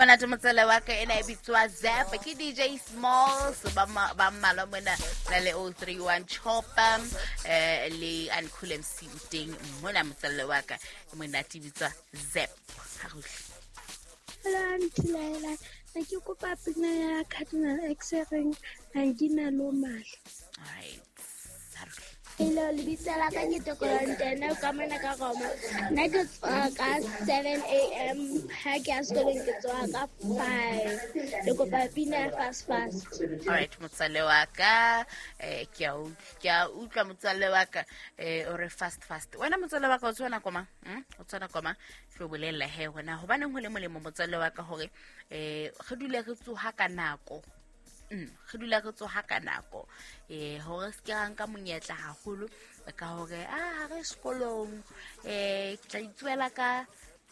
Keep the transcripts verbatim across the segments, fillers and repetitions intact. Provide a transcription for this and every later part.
Monate motswale wa ka, ena e bitswa Zap ke D J Smalls. Ba ma- ba mmalwa mona na le oh three one Chopper, eh le Uncool M C o teng mona, motswalle wa ka. E monate, e bitswa Zap. Ha re utlwe. Hello, Aunty Laila. Ne ke kopa pina ya Cardinal X e reng "Angina lo Mali". Alright, ha re utlwe. Hello, lebitso la ka ke Tokolantene ka mona ka Roma. Nna ke tsoha ka seven a m. Ha ke ya sekolong ke tsoha ka five. Ke kopa pina ya "Fast Fast". Alright, motswalle wa ka, eh ke a utlwa, ke a utlwa, motswalle wa ka. eh o re "Fast Fast". Wena motswalle wa ka, o tshwana koma, mm? O tshwana koma ke o bolella he hona hobaneng ho le molemo, motswalle wa ka, hore eh re dule re tsoha ka nako. mm re dula re tsoha ka nako, eh hore se ke ra nka monyetla haholo ka hore a re sekolong, eh ke tla itsuela ka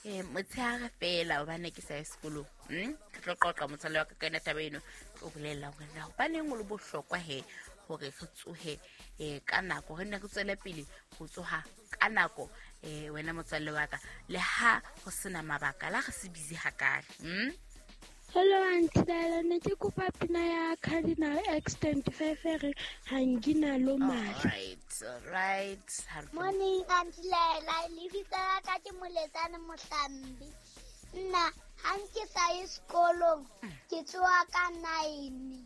eh motshehare fela hobane ke sa ye sekolong. mm ke tlo qoqa, motswalle wa ka, ka yona taba eno. Ke o bolella hore na hobaneng o le bohlokwa he hore re tsohe eh ka nako, re nne re tswele pele ho tsoha ka nako. eh wena motswalle wa ka, le ha ho sena mabaka, la re se busy hakale. mm Hello, Aunty Laila. Ne ke kopa pina ya Cardinal X twenty-five e reng "Angina lo Mali". Alright, alright. Ha re tlo- Morning, Aunty Laila. Lebitso la ka ke Moletsane Mohlambi. Nna ha nke sa ye sekolong ke tsoha ka nine.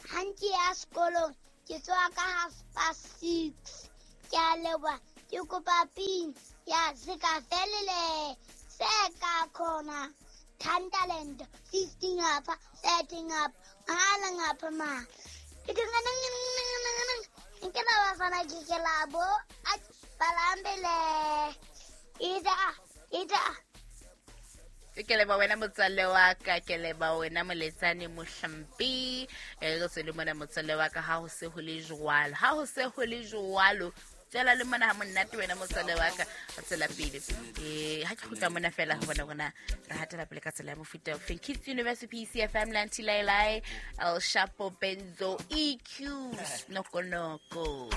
Ha nke ya sekolong ke tsoha ka half past six. Ke a leboha. Ke kopa pina ya "Sekafelele Seka Khona". Thunderland fifteen ngapha, thirty ngapha, mahala ngapha ma. Nke la bafana ke ke labo balambele ita ita. Ke leba wena, motswalle wa ka, ke leba wena, Moletsane Mohlampi. E re tswele mona, motswalle wa ka. Ha ho se ho le jwalo, ha ho se ho le jwalo, tswela le mona ha monate, wena motswalle wa ka. Re tswela pele. um ha ke kgutla mona fela, re bona rona re hatela pele ka tsela ya mofuta ofeng. Kids University, P C F M, Lanty Lailai, El Shapo, Benzo E Q, Snokonoko.